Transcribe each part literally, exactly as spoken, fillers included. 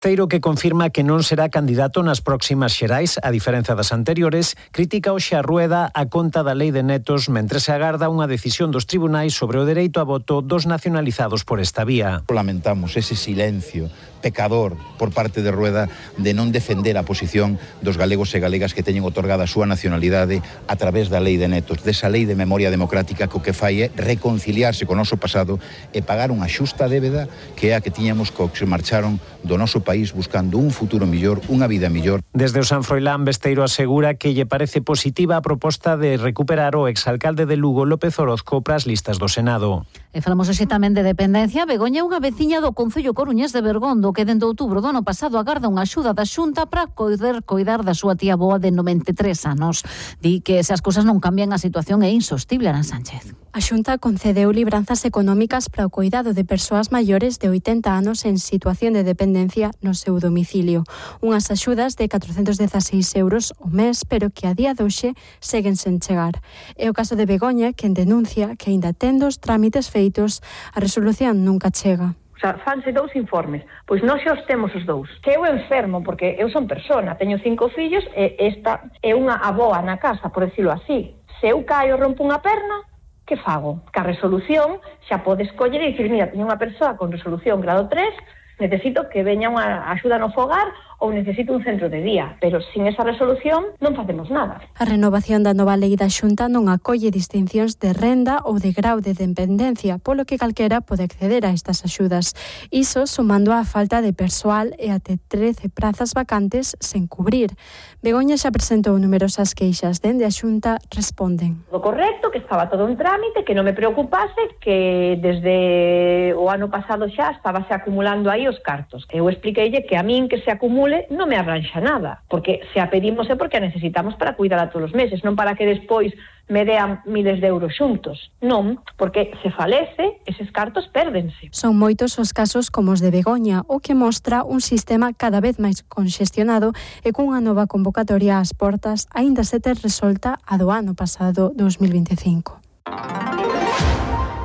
Teiro, que confirma que non será candidato nas próximas xerais, a diferenza das anteriores, critica hoxe a Rueda a conta da lei de netos mentre se agarda unha decisión dos tribunais sobre o dereito a voto dos nacionalizados por esta vía. Lamentamos ese silencio pecador por parte de Rueda de non defender a posición dos galegos e galegas que teñen otorgada a súa nacionalidade a través da lei de netos, desa lei de memoria democrática que o que fai é reconciliarse co noso pasado e pagar unha xusta débeda que é a que tiñamos co que se marcharon do noso país buscando un futuro millor, unha vida millor. Desde o San Froilán, Besteiro asegura que lle parece positiva a proposta de recuperar o exalcalde de Lugo, López Orozco, pras listas do Senado. E falamos hoxe tamén de dependencia. Begoña é unha veciña do concello coruñés de Bergondo que dende outubro do ano pasado agarda unha axuda da Xunta para poder coidar da súa tía boa de noventa e tres anos. Di que se as cousas non cambian a situación é insostible, Ana Sánchez. A Xunta concedeu libranzas económicas para o coidado de persoas maiores de oitenta anos en situación de dependencia no seu domicilio. Unhas axudas de catrocentos dezaseis euros ao mes, pero que a día de hoxe seguen sen chegar. É o caso de Begoña, quen denuncia que aínda tendo os trámites feitos, a resolución nunca chega. O sea, fanse dous informes, pois non xa os temos os dous. Se eu enfermo, porque eu son persona, teño cinco fillos, e esta é unha aboa na casa, por decirlo así. Se eu caio e rompo unha perna, que fago? Que a resolución xa podes coller e dicir, mira, teño unha persoa con resolución grado tres, necesito que veña unha axuda no fogar ou necesito un centro de día, pero sin esa resolución non facemos nada. A renovación da nova lei da Xunta non acolle distincións de renda ou de grau de dependencia, polo que calquera pode acceder a estas axudas. Iso sumando á falta de persoal e até trece prazas vacantes sen cubrir. Begoña xa presentou numerosas queixas, dende a Xunta responden. O correcto, que estaba todo en trámite, que non me preocupase, que desde o ano pasado xa estábase acumulando aí os cartos. Eu expliqueille que a min que se acumule non me arranxa nada, porque se a pedimos é porque a necesitamos para cuidar todos os meses, non para que despois me dean miles de euros xuntos. Non, porque se falece, eses cartos pérdense. Son moitos os casos como os de Begoña, o que mostra un sistema cada vez máis conxestionado e cunha nova convocatoria ás portas, aínda se ter resolta a do ano pasado dos mil veinticinco.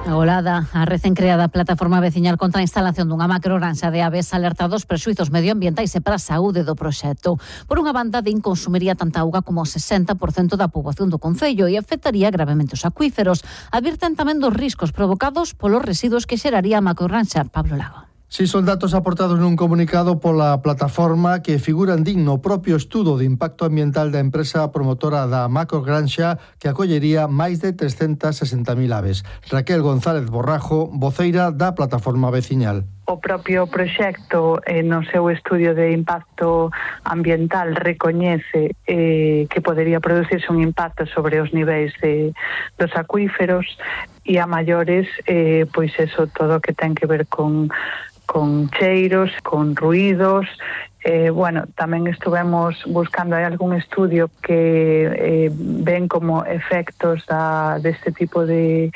Agolada, a recén creada plataforma veciñal contra a instalación dunha macrogranxa de aves alerta dos prexuizos medioambientais e para a saúde do proxecto. Por unha banda, din consumiría tanta auga como o sesenta por cento da poboación do concello e afectaría gravemente os acuíferos. Advirten tamén dos riscos provocados polos residuos que xeraría a macrogranxa. Pablo Lago. Si son datos aportados nun comunicado pola plataforma que figuran din no propio estudo de impacto ambiental da empresa promotora da macrogranxa que acollería máis de trescentas sesenta mil aves. Raquel González Borrajo, voceira da plataforma veciñal. O propio proxecto eh, no seu estudio de impacto ambiental recoñece eh, que podería producirse un impacto sobre os niveis de, dos acuíferos e a maiores, eh, pois eso, todo o que ten que ver con, con cheiros, con ruídos. Eh, bueno, tamén estuvemos buscando, hai algún estudio que eh, ven como efectos da, deste tipo de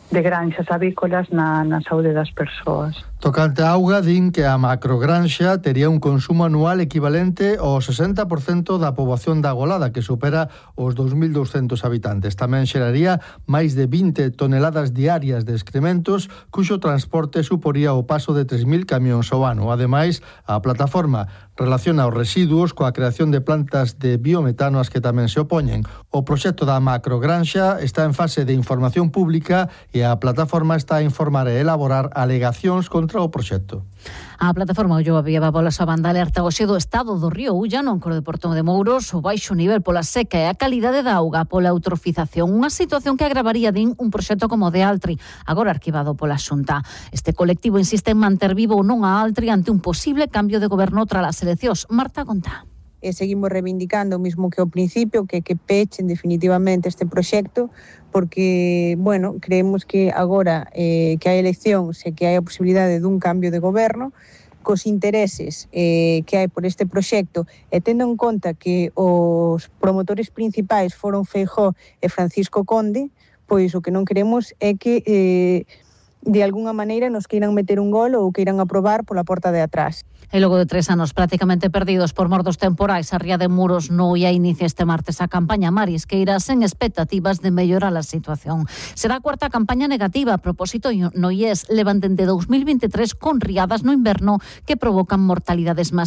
de granxas avícolas na, na saúde das persoas. Tocante a auga, din que a macrogranxa tería un consumo anual equivalente ao sesenta por cento da poboación da Agolada, que supera os dous mil douscentos habitantes. Tamén xeraría máis de vinte toneladas diarias de excrementos, cuxo transporte suporía o paso de tres mil camións ao ano. Ademais, a plataforma relaciona os residuos coa creación de plantas de biometano ás que tamén se opoñen. O proxecto da macrogranxa está en fase de información pública e a plataforma está a informar e elaborar alegacións contra o proxecto. A plataforma Ulloa Vieva pola súa banda alerta hoxe do estado do río Ulla no encoro de Portón de Mouros, o baixo nivel pola seca e a calidade da auga pola eutrofización, unha situación que agravaría, din, un proxecto como o de Altri, agora arquivado pola Xunta. Este colectivo insiste en manter vivo ou non a Altri ante un posible cambio de goberno tras as eleccións. Marta Contá. E seguimos reivindicando o mismo que ao principio, que que pechen definitivamente este proxecto, porque, bueno, creemos que agora eh, que hai eleccións e que hai a posibilidade dun cambio de goberno, cos intereses eh, que hai por este proxecto e tendo en conta que os promotores principais foron Feijóo e Francisco Conde, pois o que non queremos é que eh, de algunha maneira nos queiran meter un gol ou queiran aprobar pola porta de atrás. E logo de tres anos prácticamente perdidos por mor dos temporais, a ría de Muros no ia inicia este martes a campaña marisqueira sen expectativas de mellorar a situación. Será a cuarta campaña negativa a propósito no I E S. Levan dende dous mil vinte e tres con riadas no inverno que provocan mortalidades masivas.